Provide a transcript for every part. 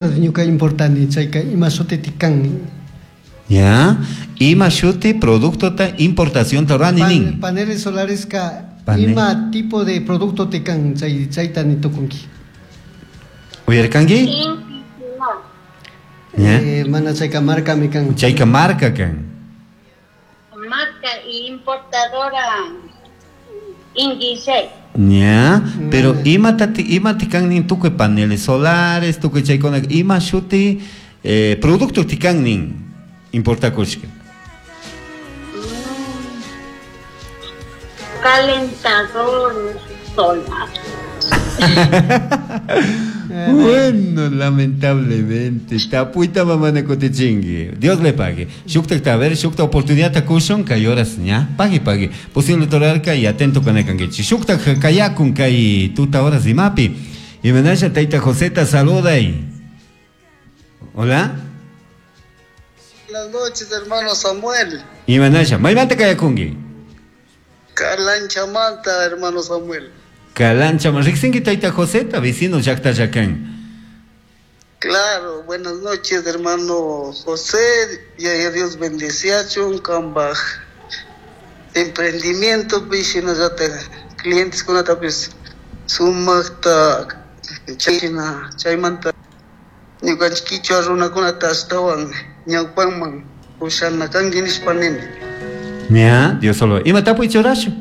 Ñuka importani chayka ima shutiti kan. Ya, ima shuti productota importación rurani nin. Paneles solares ka Pane- ima tipo de producto ti kan chay chayta ni tukunki. Uyarkanki? Inti no. Ya. Mana chayka markami kan. Chayka marka kan. Marca y importadora Inti 6. Ya, pero ima tati ima ti kan nin tukuy paneles solares, tukuy chaykuna ima shuti producto ti kan nin importakushka. Calentador solar. Bueno, lamentablemente, tapuita mamana kutichinki. Dios le pague. Shukta a ver, shukta oportunidad takushun, kay horas ña, pagui pagui. Posible torarka y atento con el kankichi. Shukta kayakun kay tuta horas imapi. Y menasha taita Joseta saluda y. Hola. Buenas noches, hermano Samuel. Y menasha, maymanta kayakunki. Calancha Manta, hermano Samuel. Calancha, riksinki taita Joseta, vecino llaqta llakan. Claro, buenas noches, hermano José. Y a Dios bendeciachun, kambaj. Emprendimiento, pishinallata, clientes kunatapis sumaqta chayna chaymanta ñuqanchik kichwa runakunata astawan ñawpanman pushana kanki nishpa nini. Ya, Dios solo. Ima tapuy churashu.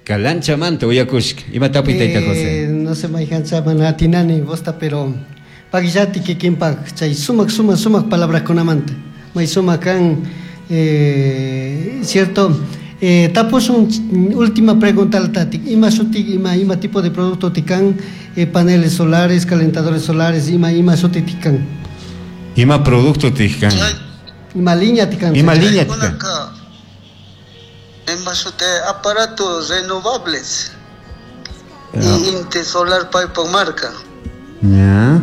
Calancha manta uyakushka. Ima tapuy taita José. No sé mayhancha mana atinani vosta pero pagillati kikinpak chay sumak sumak sumak palabrakunamanta. May sumak kan cierto. Tapusun última pregunta al tati. Ima shuti ima ima tipo de producto tikan, paneles solares, calentadores solares, ima ima shuti tikan. Ima producto tikan. Ima línea tikan. Ima línea tikan. Chaykunaka ima shuti aparatos renovables. Y Inti Solar Pipe marca. Ya.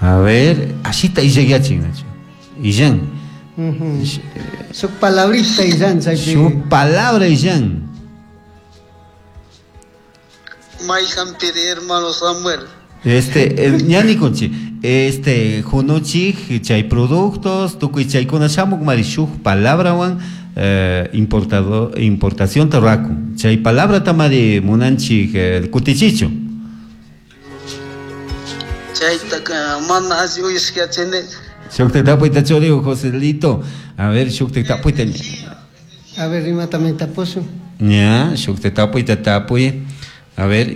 A ver, así está y llegué a Nacho. Illan. Su palabrita Illan, chaypi. Su palabra Illan. Mayhan piri hermano Samuel. Ñani kunchi, hunuchik chay productos, tukuy chaykuna shamuk mari shuk palabrawan, importado, importación tarraku. Chay palabra tamari munanchik, kutichichu. Chayta mana alli uyashkachini. Shukta tapuyta churiu, Joselito. A ver, shukta tapuyta. A ver, ima también tapusu. Ya, shukta tapuyta tapuy. A ver.